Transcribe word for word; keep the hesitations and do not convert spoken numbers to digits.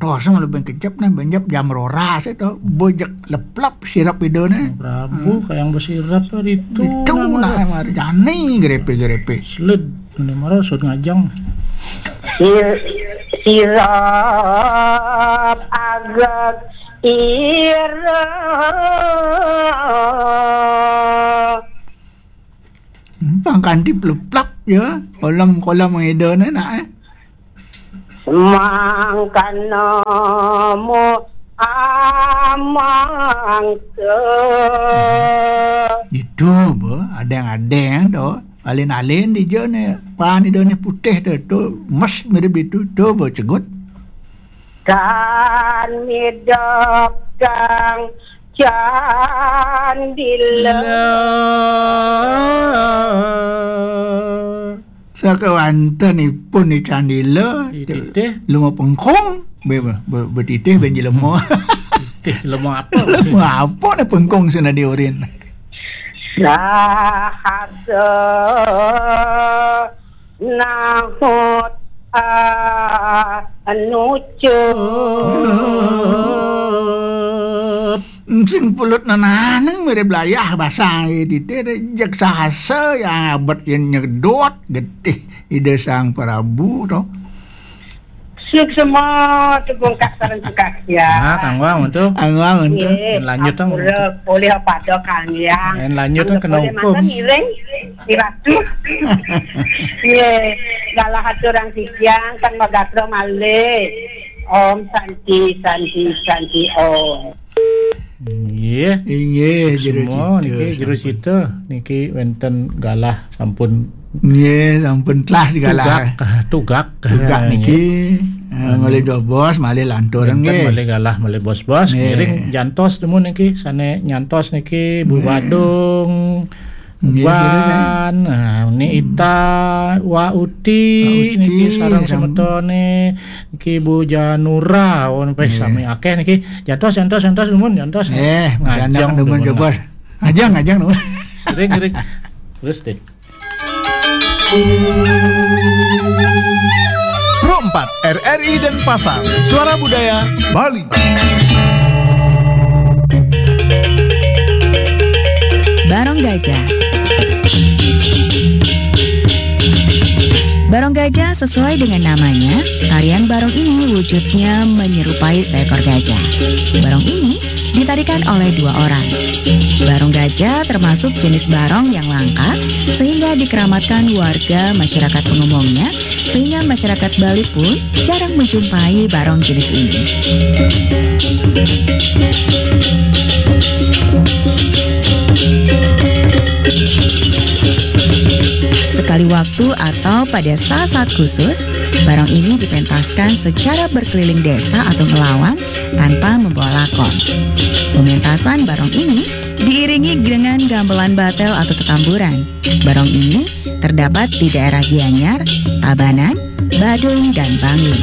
Rasa malah bengkejep nih, benjep jam roras itu, bojek leplap sirap idone. Prabu, hmm, kayak yang bersirap tuh itu. Itu nah, mari jani grepe-grepe. Sled, ini marah sud ngajang. Sir-, sirap agak ira. Pangkantip leplap ya, kolam-kolam idone nak, eh. Mangkana mu amangsa. Itu, bo, adeng-adeng tu. Alin-alin dija ne. Pan idone putih tu, tu, emas mirip itu, tu, bo, cegut. Tan midok tang candila. Sakawanten ipun di candila, di titih. Luma pengkung, be-, be-, be-, betitih ben jelema. Titih lema apa? Lema apa ne pengkung sena di urin? Sahasa nahut anucup. Sing pulut nenaneng mirip layah basang titih, jeg sahasa yang abet yen nyedot getih Ida Sang Prabu to. Suksma tepungkak sareng sukaksian. Ah, kanggo untuk. Kanggo untuk. Nggih, lanjut, Kang. Ampura polih pada Kang Hyang. Lanjut, Kang, kena boleh hukum. Makan ngiring, Ratu. Nggih, galah aturang titiang, Kang Magasra malih. Om Santi, Santi, Santi, Om. Nggih. Inggih, jero semua cita, niki, jero sampun. Cita niki wenten galah sampun. Nggih, sampun telas galah. Tugak, ah, tugak. Tugak niki, eh, nggih. Malih dobos, malih lantur, wenten nggih. Malih galah, malih bos-bos. Nggih. Ngiring jantos temu niki, sane nyantos niki, Bu Badung. Nggih. Nggih, sira, sira. Wan, nah, ini Ita, Wa Uti, Wa Uti, niki sareng sam- semetone, niki Bu Janura, oh, nggih. Sami akeh niki. Jantos, jantos, jantos, nuwun, jantos. Eh, ngajeng jangan demen nuwun. Jebos. Ngajeng, ngajeng nuwun. Ring, ring. Terus deh. Pro empat, R R I Denpasar, Suara Budaya Bali. Barong Gajah. Barong gajah sesuai dengan namanya, tarian barong ini wujudnya menyerupai seekor gajah. Barong ini ditarikan oleh dua orang. Barong gajah termasuk jenis barong yang langka, sehingga dikeramatkan warga masyarakat pengumumnya, sehingga masyarakat Bali pun jarang menjumpai barong jenis ini. Sekali waktu atau pada saat-saat khusus, barong ini dipentaskan secara berkeliling desa atau melawang tanpa membawa lakon. Pementasan barong ini diiringi dengan gamelan batel atau tetamburan. Barong ini terdapat di daerah Gianyar, Tabanan, Badung, dan Bangli.